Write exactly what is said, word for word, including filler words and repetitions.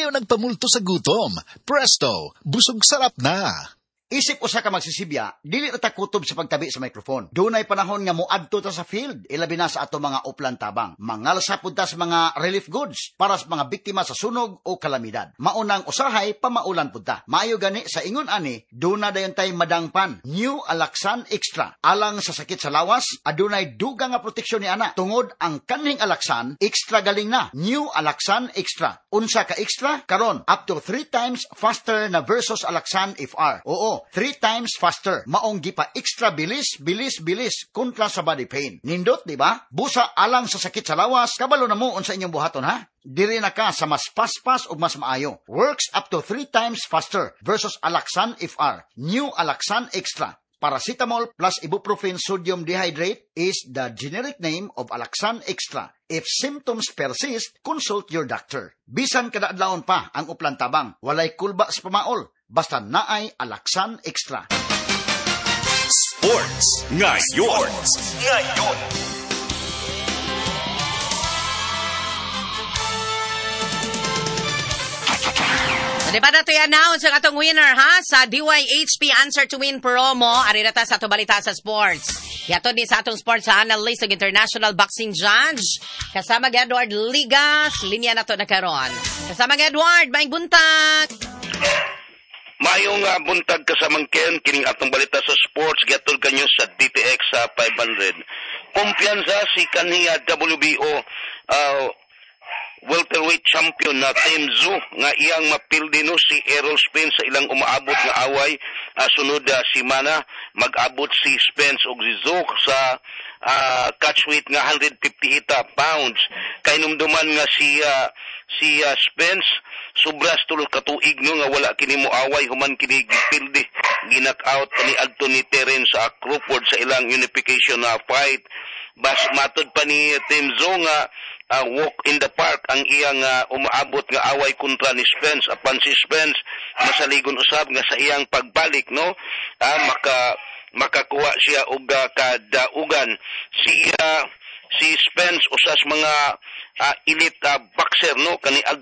Ayaw nagpamulto sa gutom. Presto, busog sarap na. Isip usa ka magsisibya, dili ra ta kutob sa pagtabi sa microphone. Dunay panahon nga moadto ta sa field, ilabi na sa ato mga uplan tabang. Mangalsa pud ta sa mga relief goods para sa mga biktima sa sunog o kalamidad. Maunang usahay pamaulan pud ta. Maayo gani sa ingon ani, duna dayon tay madangpan. New Alaxan Extra. Alang sa sakit sa lawas, adunay dugang nga proteksyon ni ana. Tungod ang kanhing Alaxan, extra galing na. New Alaxan Extra. Unsa ka extra? Karon, up to three times faster na versus Alaxan F R. Oo, three times faster. Maong gipa extra bilis, bilis, bilis kontra sa body pain. Nindot, di ba? Busa alang sa sakit sa lawas, kabalo na mo unsa inyong buhaton, ha? Diri na ka sa mas paspas o mas maayo. Works up to three times faster versus Alaxan F R. New Alaxan Extra. Paracetamol plus ibuprofen sodium dihydrate is the generic name of Alaxan Extra. If symptoms persist, consult your doctor. Bisan kada adlawon pa ang uplan tabang, walay kulba sa pamaol, basta naay Alaxan Extra. Sports Ngayon. Ngayon. So, di ba na ito i-announce ang atong winner ha sa D Y H P Answer to Win promo. Ari na ta sa ato balita sa sports. Yato ni sa atong sports analyst ug international boxing judge. Kasama gi Edward Ligas. Linya na to na karon. Kasama gi Edward, maayong buntag. Maayong uh, buntag, kasamang Ken, kining atong balita sa sports giatol kanyo sa D T X sa five hundred. Kumpiyansa si kanhiya W B O uh, welterweight champion na Tim Tszyu nga iyang mapildi no si Errol Spence sa ilang umaabot nga away uh, sunod uh, simana. Mag-abot si Spence og si Tszyu sa uh, catchweight nga one hundred fifty-eight pounds. Kahinumduman nga si uh, si uh, Spence sobras tulo ka tuig no nga wala kini moaway human kini gipildi, ginak out ni adto ni Terence sa Crawford sa ilang unification na fight. Bas matod pa ni Tim Tszyu nga uh, walk in the park ang iyang uh, umaabot nga away kontra ni Spence, apan si Spence masaligon usab nga sa iyang pagbalik no uh, maka makakuha siya og uh, kadaugan. Si uh, si Spence usas mga uh, elite uh, boxer no kani